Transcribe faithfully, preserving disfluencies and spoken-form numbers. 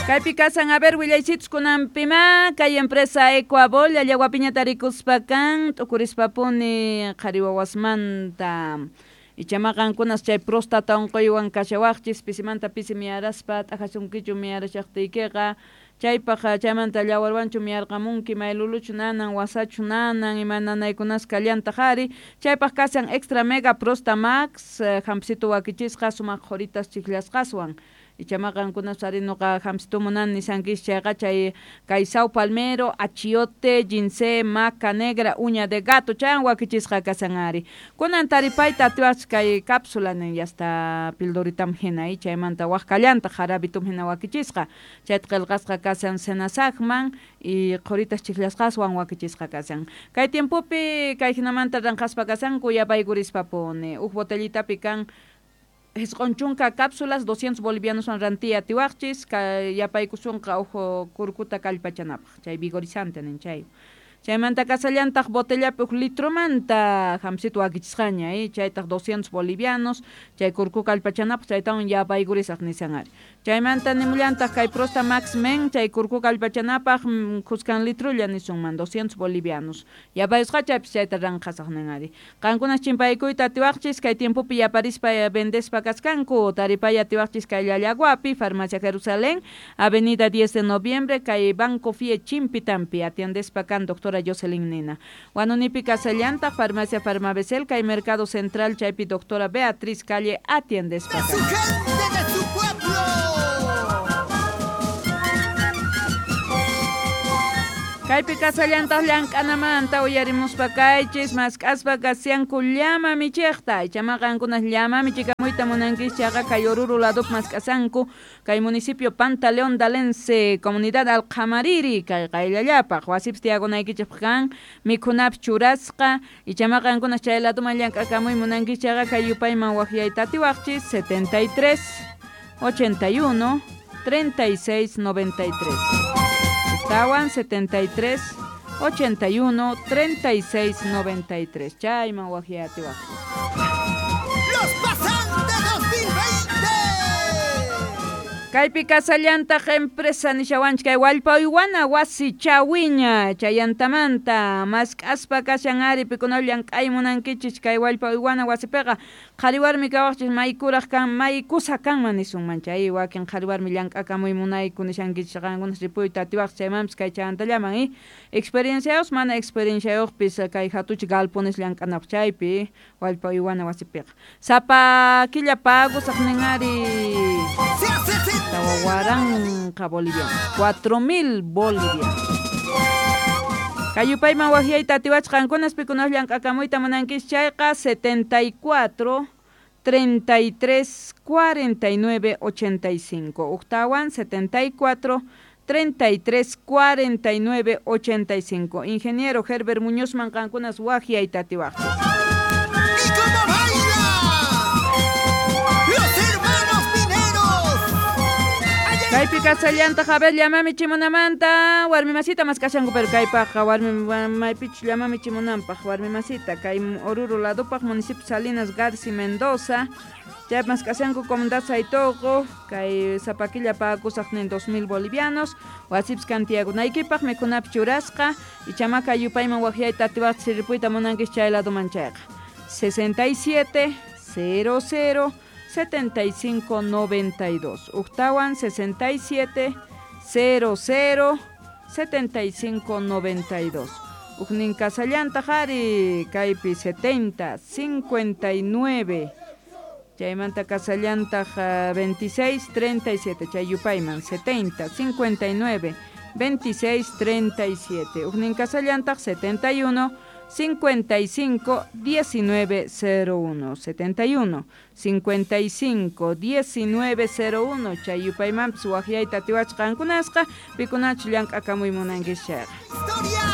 Kaypi kasan, a ver, willaysitus kunanpima, kay empresa Ecuabol, llallawapiña tarikuspa kan, t'ukurispapuni qhari wawasmanta. Ichama qankunas chay próstata unquywan kashawaqchis, pisimanta pisi miyaraspa, t'ajasunkichu miyarashaqtiykiqa, chaypaq chaymanta llawarwanchu miyarqamunki, mayluluchu nanan, wasachu nanan, ima nanaykunas kallantaq ari, chaypaq kasan Extra Mega Prosta Max, hampisitu wakichisqa, sumaq qhuritas chikllasqaswan. Ichama qankunas ari nuqa hampisitu munani nisankis chayqa chay kay sao palmero, achiote, ginseng, maca negra, uña de gato, chaywan wakichisqa kasan ari. Kunan taripayta atiwaqchis kay cápsula nin yasta pildoritam hina, chaymanta waj kallantaq jarabitum hina wakichisqa, chayta qillqasqa kasan senasaqman y qhuritas chikllasqaswan wakichisqa kasan. Kay tiempopi kay hinamanta ranqaspa kasanku yapaykurispa-puni, uj botellitapi kan jisq'un chunka cápsulas, doscientos bolivianos rantiya atiwaqchis, kay yapaykusunqa uj kurkuta kallpachanapaq, chay vigorizante nin chay. Chaymanta kasallantaq botellapi uj litromanta hamsito wakichisqaña, eh, chaytaq doscientos bolivianos, chay kurku kallpachanapaq chaytawan yapaykurisaq nisan ari. Chaymanta nimullantaq kay Prosta Max Men, chay kurku kallpachanapaq khuskan litrulla nisunman, doscientos bolivianos. Yapayusqa chaypis chayta ranqasaq nin ari. Qankunas chimpaykuyta atiwaqchis, kay tiempopi yaparispa vendespa kaskanku, taripay atiwaqchis kay Llallaguapi, Farmacia Jerusalén, Avenida diez de Noviembre, kay Banco Fie Chimpitampi, atiendespa kan doctora Jocelyn Nina. Huanunipi kasallantaq, Farmacia Farmabesel, kay Mercado Central, chaypi doctora Beatriz Calle, atiendespa De su kan. gente, de su pueblo. Kaypi kasallantaq llank'anamanta uyarimuspa kaychis, mask'aspa kasianku llama michiqta. Ichama qankunas llama michikamuyta munankis chayqa kay Oruro ladup mask'asanku, kay municipio Pantaleón Dalense, comunidad Alqamariri, kay qayllallapaq wasipis tiyakunaykichikpaq kan, mikhunapis churasqa. Ichama qankunas chay laduman llank'akamuy munankis chayqa kay yupayman waqyayta atiwaqchis, setenta y tres, ochenta y uno, treinta y seis, noventa y tres. Tawan setenta y tres, ochenta y uno, treinta y seis, noventa y tres. Chayman waqyayta atiwaqchis. Los pasantes dos mil veinte. Kaypi kasallantaq empresa nishawanchik kay wallpa uywana wasi chawiña chayantamanta mask'aspa kashan ari pikuna llank'ay munankichis kay wallpa uywana wasipiqa qhari warmi kawaqchis maykuraq kan maykusa kanman nisunman chay wakin qhari warmi llank'akamuy munayku nishankichis qankunas ripuyta atiwaqchis chaymanpis kay chayantallaman y experienciayuq mana experienciayuqpis kay hatuchi galpones llank'anapaq chaypi wallpa uywana wasipiqa sapa killa pagusaq nin ari Se hace sentir tawa waranqa bolivianos, cuatro mil bolivianos. Kayupayman waqyayta atiwachqa qankunas pikunas llank'akamuyta munankis chayqa setenta y cuatro, treinta y tres, cuarenta y nueve, ochenta y cinco. Octawan setenta y cuatro, treinta y tres, cuarenta y nueve, ochenta y cinco. Ingeniero Herbert Muñoz man qankunas waqyayta atiwaqchis. ¿Y cómo baila? Los hermanos mineros. Kaypi kasallantaq, a ver, llamami chimunamanta, warmi masita maskashanku, pero kaypaqqa warmi maypichu llamami chimunanpaq, warmi masita, kay Oruro ladupaq, municipio Salinas Garci Mendoza, chay maskashanku comunidad Saitoqo, kay Zapaquilla pagusaq nin dos mil bolivianos, wasipis kantiyakunaykipaq, mikhunapi churasqa, ichamaka yupayman waqyayta atiwaqchis sirpuyta munankis chay laduman chayqa. sesenta y siete, cero cero, setenta y cinco, noventa y dos. Octawan sesenta y siete, cero cero, setenta y cinco, noventa y dos. Ujnin kasallanta jari, kaypi setenta, cincuenta y nueve. Chaymanta kasallanta, ja, veintiséis, treinta y siete. Chayupayman setenta, cincuenta y nueve, veintiséis, treinta y siete. Ujnin kasallanta, setenta y uno, cincuenta y cinco, diecinueve, cero uno. setenta y uno, cincuenta y cinco, diecinueve, cero uno. Chayupaymanpis waqyayta atiwachqa qankunasqa, pikunachu llank'akamuy munankis chayqa. Historia.